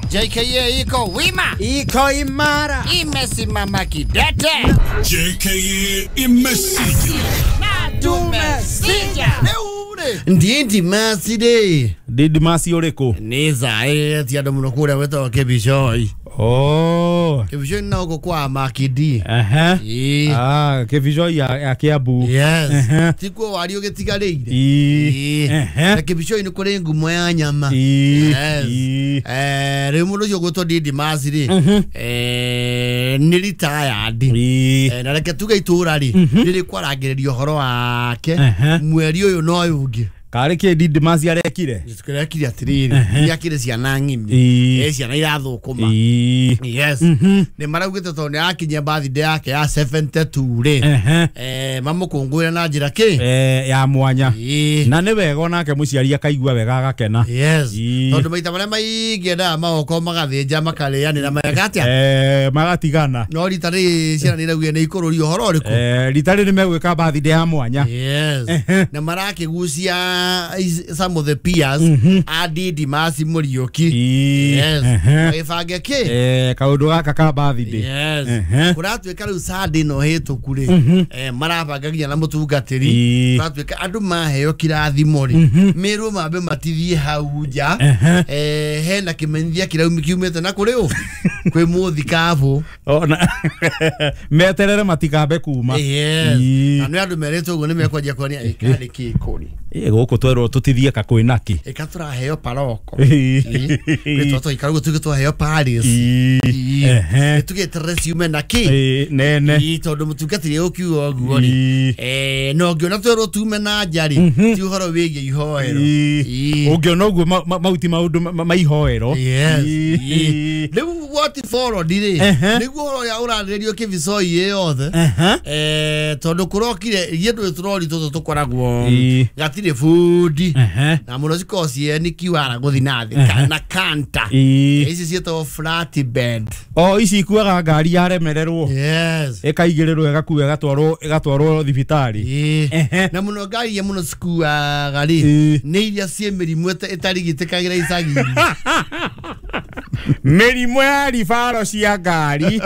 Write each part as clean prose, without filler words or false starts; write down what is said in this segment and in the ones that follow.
JKA iko wima, iko imara, imesimama kidete. JKA imesija na tumesija. Ndindi masi de ndindi masi uriku ni zae ti andu muno kuria wetagwo Kibicoi. Oh, Kibicoi na huko kwa Makidi. Aha. Ah, Kibicoi ya Kiambu. Yes. Tikuo wari ugitigarĩire. Na Kibicoi nĩ kũrĩ ngumo ya nyama. Yes. Rĩu mũndũ ũcio ũgwĩtwo Ndindi Masi rĩ, nĩ retired. Na reke tuge itũra rĩ rĩrĩ kwarangĩrĩria ũhoro wake mweri ũyũ na ũyũ ũngĩ. Karĩ kĩ Ndindi Masi arekire? Arekire atĩrĩrĩ, nĩakĩrĩ ciana ng'ima, ciana irathũkũma. Yes. Nĩ maraugĩte tondũ nĩ arakinyia birthday yake ya 72 rĩ, mamũkũngũĩre na njĩra kĩ ya mwanya. Na nĩ wega onake mũciari akaigua wega agakena. Yes. Tondũ maita marĩa maingĩ endaga magokorwo magathĩnja makarĩanĩra meka atĩa? Magatigana. No rita rĩrĩ ciana nĩ iraugire nĩ ikũrũrio ũhoro ũrĩkũ? Rita rĩrĩ megwĩka birthday ya mwanya. Yes. Na marakĩgucia some of the peers a Ndindi Masi Muriuki. Yes. Magĩbange kĩ? Kaũndũ gaka ka birthday. Yes. Kũratuĩka rĩu Sunday no hĩtũku rĩ, marabanga nginya na mũtungatĩri. Kũratuĩka andũ maheo kĩrathimo rĩ, mĩrwo mambe matithie hau nja. Hena kĩmenyithia kĩraumi kiumĩte na kũrĩ ũ? Kwĩ mũthikabu. Ona meterere matikambe kuma. Yes. Na nĩ andũ merĩtwo ũguo nĩ mekwanjia kuonia ĩkarĩ kĩ kũrĩ. Gũkũ twerwo tũtithie ka kwĩna kĩ. Ĩka tũraheo paroko. Twĩtwo tũikara ũguo tuge twaheo Paris. Tũgĩeterere ciume na kĩ? Nene. Tondũ mũtungatĩri ũkiuga ũguo rĩ, na ũngĩona twerwo tume na nja rĩ, ti ũhoro wĩgiĩ ihoero. Ũngĩona ũguo mau ti maũndũ ma ihoero. Yes. Rĩu what followed rĩ, nĩguo ũhoro ũrĩa ũrarĩrĩrio Kibicoi ĩ yothe, tondũ kũrokire ithuĩ ndũĩ tũrori tũtũ tũkoragwo gatirĩ bundi na mũno cikoragwo ciĩ nĩ kiwara gũthiĩ na thĩ na kanta. Ici ciĩtagwo flat bed. O ici ikuaga ngari yaremererwo. Yes. Ĩkaigĩrĩrwo ĩgakua ĩgatwarwo thibitarĩ. Na mũno ngari iria mũno cikuaga rĩ, nĩ iria ciĩ mĩrimũ ĩtarigitĩkagĩra icagi-inĩ. Mĩrimũ ya ribaro cia ngari.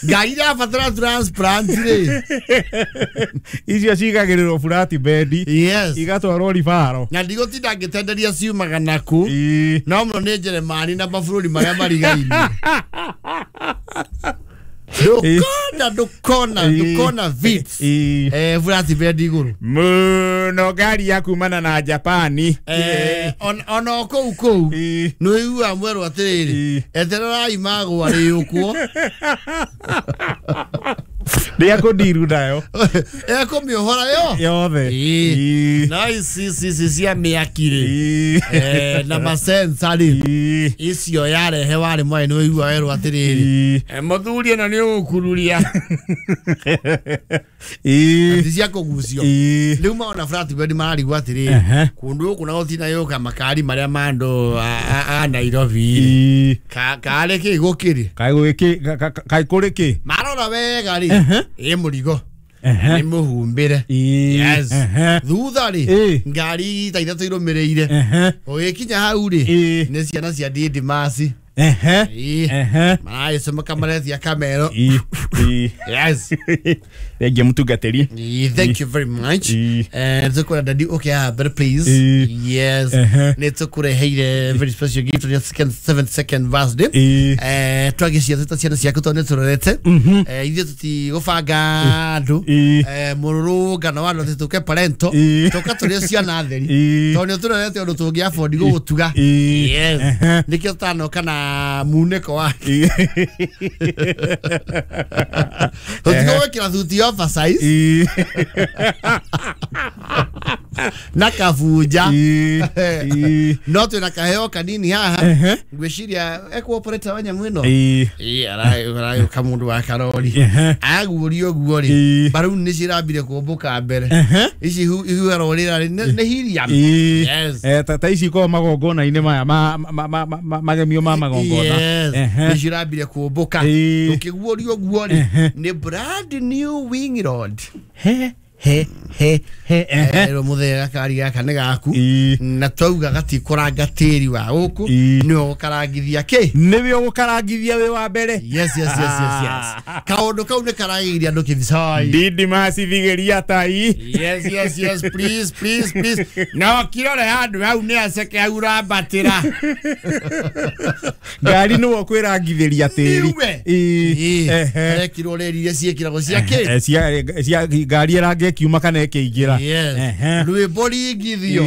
Ngari irabatara transplant rĩ. Icio cigagĩrĩrwo flat bed. Yes. Igatwarwo ribaro. Na ndigũtinda ngĩtenderia ciumaga naku. No mũno nĩ Njeremani na mabũrũri marĩa marigainie. Ndũkona vits. Flat bed igũrũ. Mũno ngari ya kumana na Japani. Ona o kũu kũu nĩ ũiguaga mwerwo atĩrĩrĩ, etererai magwa rĩũkwo. Ndĩakũndiru nayo. Ekũmĩohora yo yothe. Na ici cia mĩaki rĩ, na masensa rĩ, icio yarehe warĩ mwarĩ nĩ ũiguaga werwo atĩrĩrĩ, mũthuri ĩno nĩ ũgũkururia. Ti cia kũgucio. Rĩu maona flat bed mararigwo atĩrĩrĩ, kũndũ gũkũ na gũtinayũka makari marĩa ma andũ a Nairobi rĩ, karĩ kĩ gũkĩrĩ? Kaĩ kũrĩ kĩ? Marora wega rĩ, ĩ mũrigo nĩ mũhumbĩre. Yes. Thutha rĩ, ngari ta ithatũ irũmĩrĩire. Ũgĩkinya hau rĩ, nĩ ciana cia Ndindi Masi. Maragĩcomoka maretia kamero. Yes. Thengia mũtungatĩri. Thank you very much. Tũkwenda dadi ũke haha mbere please. Yes. Nĩ tũkũreheire very special gift on your 72nd birthday. Twagĩcia twĩta ciana ciaku tondũ nĩ tũrorete. Ithuĩ tũtigũbanga andũ. Mũrũrũngano wa andũ atĩ tũke parento. Tũka tũrĩ ciana theri. Tondũ nĩ tũrorete ũndũ tũngĩ afford gũgũtuga. Yes. Nĩkĩo tũtanoka na muneko wake. Tũtigũgwĩkĩra thuti oversize na kabunja. No twĩna kaheo kanini haha. Ngwĩciria ekũ operator wa nyamũ ĩno. Aragĩũka mũndũ wa karori. Aguũria ũguo rĩ, mbaruni nĩ cirambire kũmbũka mbere. Ici ihuharwo rĩera rĩ nĩ helium. Yes. Ta ici ikoragwo magongona-inĩ maya magemio ma magongona. Yes. Nĩ cirambire kũmbũka. Ũkĩguũria ũguo rĩ, nĩ brand new wing rod. he he he ero muthe gakari gaka nĩ gaku na twauga gatikoranga tĩri wa gũkũ nĩwe gũkarangithia kĩ nĩwe ũgũkarangithia wĩ wa mbere. Yes yes yes yes yes. Kaũndũ kau nĩ karagĩria andũ kĩbicoi. Didimasi thigeria tai. Yes yes yes, please please please. No kirore handũ hau nĩ aceke hau rambatĩra. Ngari nĩwe ũkwĩrangithĩria tĩri. Rekirwo rĩri iria ciĩkĩragwo cia kĩ cia ngari ĩrange ĩkiuma kana ĩkĩingĩra. Rwĩmbo ringithio.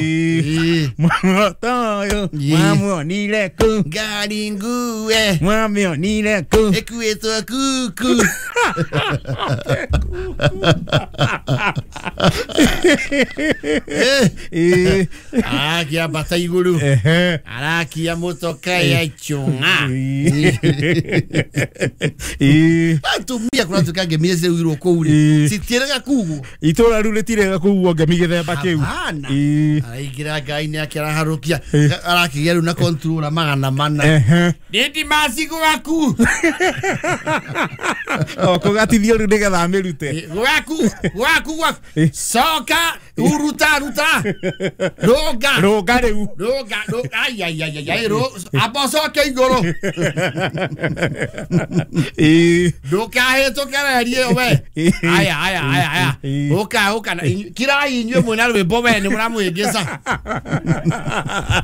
Muotoyo mwamuonire kũ ngari ngue mwamĩonire kũ ĩkuĩtwo kuku. Arakiambata igũrũ arakia mũtoka ya chũng'a. Atumia kũratuĩka ngemi ciaugirwo kũu rĩ citiĩrega kugwo itũra rĩu rĩtirega kugwo ngemi gĩthemba kĩu. Araingĩra ngai-inĩ ake araharũkia arakĩgĩa rĩu na controller 400. Didimasi gwaku kũgatithio rĩu nĩgetha amĩrute. Gwaku gwaku gwaku coka uruta ruta rũnga rũnga rĩu rũnga ai ai ai ai amba ũcoke igũrũ ndũkahĩtũkererie ĩyo we. Aya aya aya aya ũka ũka kirai inyuĩ mwĩna rwĩmbo we nĩ mũramũhĩngĩca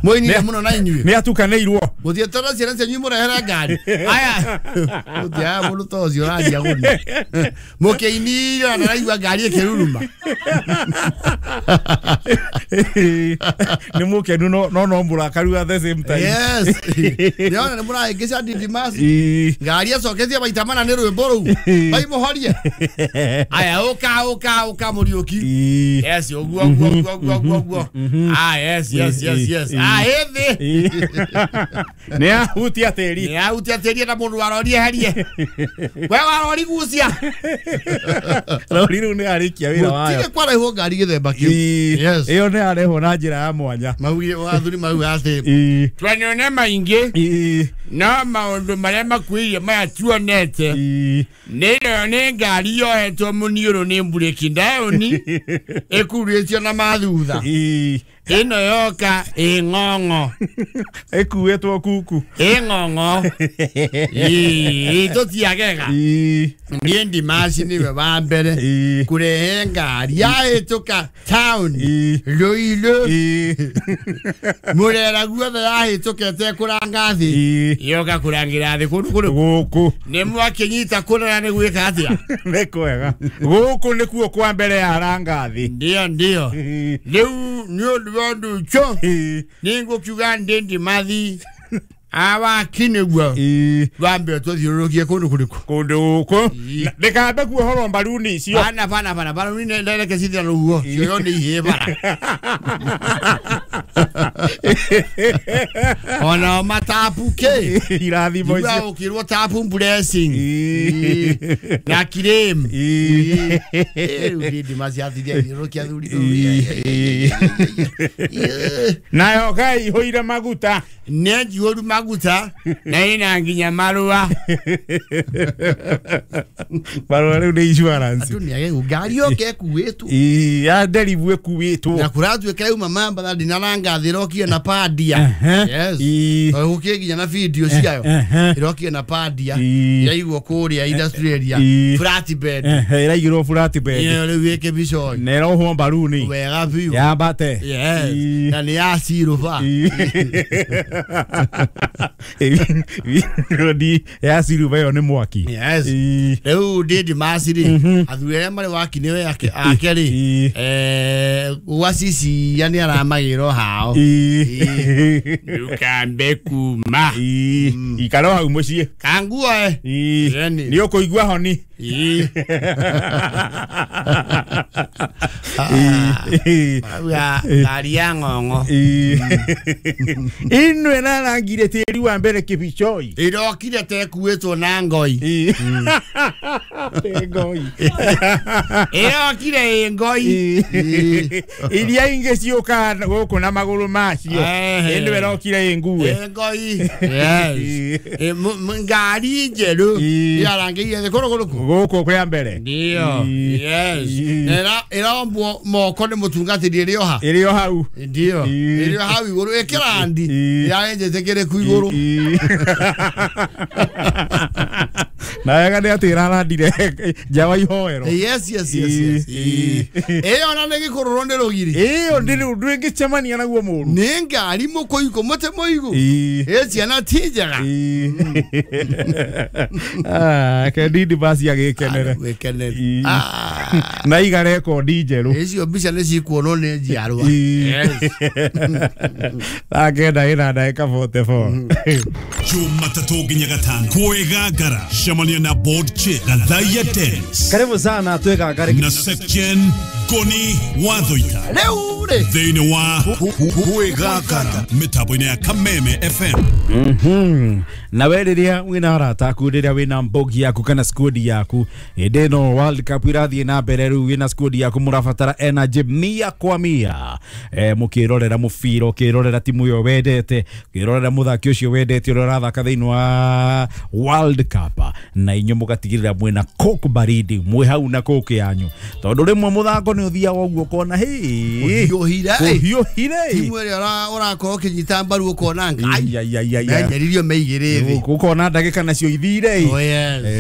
mwĩinire mũno na inyuĩ nĩ atukanĩirwo mũthiĩte na ciana cianyu mũrehere ngari aya mũtiaga mũndũ ta ũcio ũraria gũni mũkĩinire na ndaraigua ngari ĩkĩruruma. Nĩ mũkenu no no mũrakaru at the same time. Yes. Nĩona nĩ mũrahĩngĩca Didimasi ngari acoketie maita mana nĩ rwĩmbo rũu maimũhorie. Aya ũka ũka ũka Mũriũki. Yes ũguo ũguo ũguo ũguo ũguo. Ah yes yes yes yes. Ah ĩthĩ nĩ ahutia tĩri nĩ ahutia tĩri na mũndũ warorie herie we warori gucia rori rĩu nĩ arĩkia wĩra wayo gũtirĩ kwarehwo ngari gĩthemba kĩu. Yes. Ĩyo nĩ yarehwo na njĩra ya mwanya. Maugire athuri mauga atĩ twanone maingĩ no maũndũ marĩa makuĩire maya tuonete nĩ nĩ ngari yohetwo mũniũrũ nĩ mburĩki ndaũni ĩkurĩtio na mathutha ĩno yoka ĩng'ong'o ĩkuĩtwo kuku ĩng'ong'o tũtiagega. Niĩ Ndimasi nĩwe wa mbere kũrehe ngari yahĩtũka taũni Rũirũ mũrera guothe yahĩtũka ĩtekũranga thĩ yoka kũrangĩra thĩ kũndũ kũrĩkũ gũkũ nĩ mwakĩnyita kũrora nĩ gwĩka atĩa nĩ kwega gũkũ nĩkuo kwa mbere yaranga thĩ. Ndio ndio rĩu nĩ ũndũ wa ũndũ ũcio nĩngũkiuga ndĩ Ndimathi awaki nĩguo wambe tũthiũrũrũkie kũndũ kũrĩkũ kũndũ gũkũ ndĩkambe kuohorwo mbaruni icio bana bana bana mbaruni ndereke cithira rũhuho cio nĩ ihĩĩ bara ona matapu kĩ irathimo icio ũkĩrwo tapu blessing na kirem rĩu Ndimasi athirie athiũrũrũkia athuri nayo ngai ihũire maguta nĩ njihũru maguta na ĩna nginya marũa marũa rĩu nĩ insurance andũ nĩ ngari yoke ĩkuĩtwo ya nderibu ĩkuĩtwo na kũratuĩka yauma Mambatha ndinaranga thĩ ĩrokire na pandia. Yes. Gũkĩrĩ nginya na video ciayo ĩrokire na pandia yaigwo kũrĩa industrial area flat bed ĩraigĩrwo flat bed ĩyo rĩu ĩkĩbicoi na ĩrohwo mbaruni wega biũ yambate. Yes. Na nĩ ya ciruba rodi ya ciruba ĩyo nĩ mwaki. Yes. Rĩu Didimasi rĩ athuri arĩa marĩ waki nĩwe ake rĩ gwacicia nĩ aramagĩrwo hao ndũkambe kuma ikara hau mũciĩ kanguoe nĩ ũkũigua honi. Ngari ya ng'ong'o ĩno ĩrarangire tĩri wa mbere kĩbicoi ĩrokire tekuĩtwo na ngoi ngoi ĩrokire ĩ ngoi iria ingĩ ciũkaga gũkũ na magũrũ macio ĩno ĩrokire ĩ ngue ngoi. Yes. Ngari njerũ ĩrarangĩire thĩ kũrũ kũrĩkũ Gũkũ kwa mbere. Ndio. Yes. Era ĩrombwo moko nĩ mũtungatĩri ĩrĩ o ha. Ĩrĩ o hau. Ndio. Ĩrĩ o hau igũrũ ĩkĩrandi. Yaenjete kĩrĩ ku igũrũ. Na wega nĩ atĩ ĩrarandire nja wa ihoero. Yes yes yes yes. Ĩyo na nĩ gĩkũrũrwo nĩ rũgiri. Ĩyo ndĩ ndũngĩcemania naguo mũru. Nĩ ngari mũkũigũ mũtĩ mũigũ. Ĩ ciana ti njega. Ah, ke ndindi basi agĩkenere. Gĩkenere. Na iga rekondi njerũ. Icio mbica nĩ cikuonwo nĩ njiarwa. Thaa 9 ĩna ndagĩka 44. Jumatatu nginya gatano kwĩgangara cemania na board chair Gathaiya Dennis. Karibu sana twĩgangare na Section Goni Wathoita rĩu rĩ thĩinĩ wa kwĩgangara mĩtambo-inĩ ya Kameme FM. Na we rĩrĩa wĩna arata aku, rĩrĩa wĩna mbogi yaku kana squad yaku, hĩndĩ ĩno World Cup irathiĩ na mbere rĩu wĩna squad yaku mũrabatara energy 100 kwa 100. Mũkĩrorera mũbira, ũkĩrorera timu ĩyo wendete, ũkĩrorera mũthaki ũcio wendete ũrĩa ũrathaka thĩinĩ wa World Cup, na inyuĩ mũgatigĩrĩra mwĩna Coke baridi, mwĩ hau na Coke yanyu, tondũ rĩmwe mũthako nĩ ũthiaga ũguo ũkona hĩ ũhiũhire timu ĩrĩa ũrakorwo ũkĩnyita mbaru ũkona ngai menjeririo meigĩrĩ thĩ ũkona ndagĩka nacio ithire.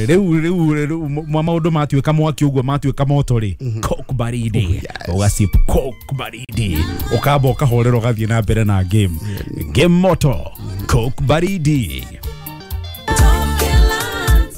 Rĩu rĩu maũndũ matuĩka mwaki ũguo matuĩka moto rĩ, Coke baridi ũgacip Coke baridi ũkamba ũkahorera ũgathiĩ na mbere na game moto Coke baridi.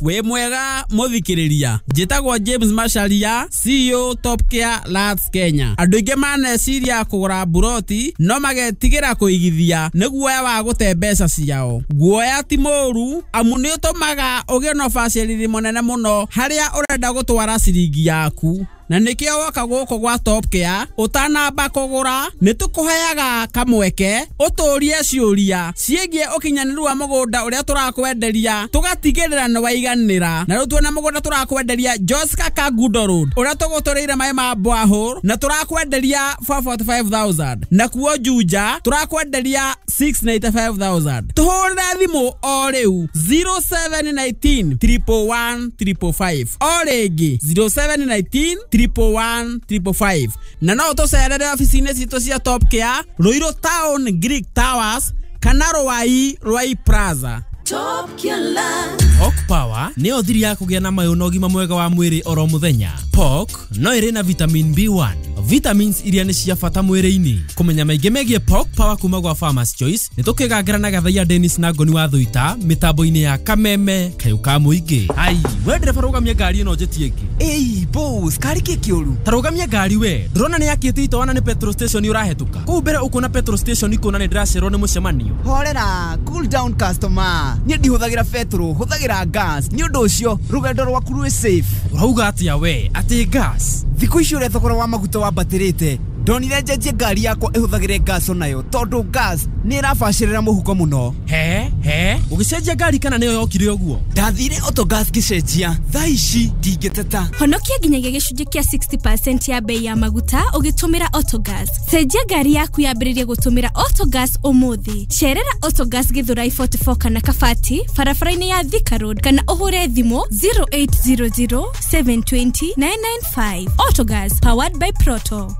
Wĩ mwega mũthikĩrĩria, njĩtagwo James Macharia, CEO Top Care Lands Kenya. Andũ aingĩ maneciria kũgũra mburoti no magetigĩra kũigithia nĩ guoya wa gũte mbeca ciao. Guoya ti mũũru amu nĩ ũtũmaga ũgĩe na ũbacĩrĩri mũnene mũno harĩa ũrenda gũtwara ciringi yaku. Na nĩkĩo woka gũkũ gwa Top Care ũtanamba kũgũra nĩ tũkũheaga kamweke ũtũrie ciũria ciĩgiĩ ũkinyanĩru wa mũgũnda ũrĩa tũrakwenderia tũgatigĩrĩra nĩ waiganĩra. Na rĩu tuona mũgũnda tũrakwenderia Joska Kangundo Road ũrĩa tũgũtũrĩire maĩ ma borehole na tũrakwenderia 445,000, na kuo Juja tũrakwenderia 695,000. Tũhũrĩre thimũ o rĩu 0719 111 555 o rĩngĩ 0719 111 555, na no tũcerere ofici-inĩ citũ cia Top Care Ruiru Town Greek Towers kana Ruai Ruai Plaza. Top Care Land. Pork Power nĩyo thiri ya kũgĩa na mayũ na ũgima mwega wa mwĩrĩ oro mũthenya. Pork no ĩrĩ na vitamin B1, vitamins iria nĩ cia bata mwĩrĩ-inĩ. Kũmenya maingĩ megiĩ Pork Power kuma gwa Farmers Choice nĩ tũkĩgangĩra na Gathaiya Dennis na Ngoni wa Thuita mĩtambo-inĩ ya Kameme kayũ ka mũingĩ. Ai, we ndereba rũgamia ngari ĩno njĩtie ĩngĩ. Ĩi boss, kari kĩ kĩũru? Ta rũgamia ngari we, ndũrona nĩ yakĩte itoana nĩ petrol station ũrahĩtũka. Kũu mbere ũkuona petrol station ikuona nĩ ndĩracerwo nĩ mũcemanio. Horera, cool down customer. Niĩ ndihũthagĩra petrol, hũthagĩra gas. Nĩ ũndũ ũcio rũgendo rwaku rwĩ safe. Ũrauga atĩa we? Atĩ gas? Thikũ ici ũrĩa thogora wa maguta wambatĩrĩte, ndonire njenjie ngari yakwa ĩhũthagĩre gas onayo tondũ gas nĩ ĩrabacĩrĩra mũhuko mũno. He he, ũgĩcenjia ngari kana nĩyo yokire ũguo? Ndathire Autogas ngĩcenjia, thaa ici ndingĩteta. Honokia nginyagia gĩcunjĩ kĩa 60% ya bei ya maguta ũgĩtũmĩra Autogas. Cenjia ngari yaku yambĩrĩrie gũtũmĩra Autogas ũmũthĩ. Cerera Autogas Githurai 44 kana Kabati barabara-inĩ ya Thika Road kana ũhũre thimũ 0800 720 995. Autogas, powered by Proto.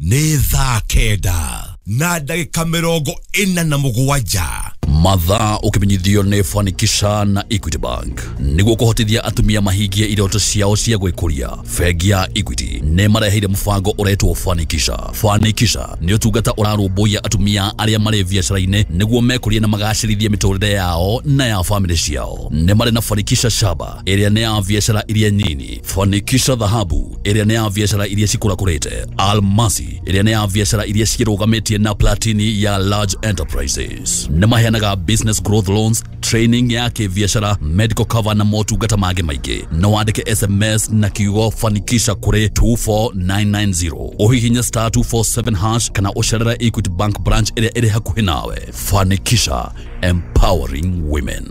Nĩ thaa 9 na ndagĩka 47. Mathaa ũkĩmenyithio nĩ Fanikisha na Equity Bank nĩguo kũhotithia atumia mahingie iroto ciao cia gwĩkũria. Bengi ya Equity nĩ mareheire mũbango ũretwo Fanikisha. Fanikisha nĩ ũtungata ũrarũmbũiya atumia arĩa marĩ biacara-inĩ nĩguo mekũrie na magacĩrithie mĩtũrĩre yao na ya famĩlĩ ciao. Nĩ marĩ na Fanikisha Shaba ĩrĩa nĩ ya biacara iria nini, Fanikisha Dhahabu ĩrĩa nĩ ya biacara iria cikũrakũrĩte, Almasi ĩrĩa nĩ ya biacara iria cirũgamĩtie na Platini ya large enterprises. Nĩ maheanaga business growth loans, training ya kĩbiacara, medical cover na motungata mangĩ maingĩ. No wandĩke SMS na kiugo Fanikisha kũrĩ 24990, ũhihinye star 247 hash kana ũcerere Equity Bank branch ĩrĩa ĩrĩ hakuhĩ nawe. Fanikisha, empowering women.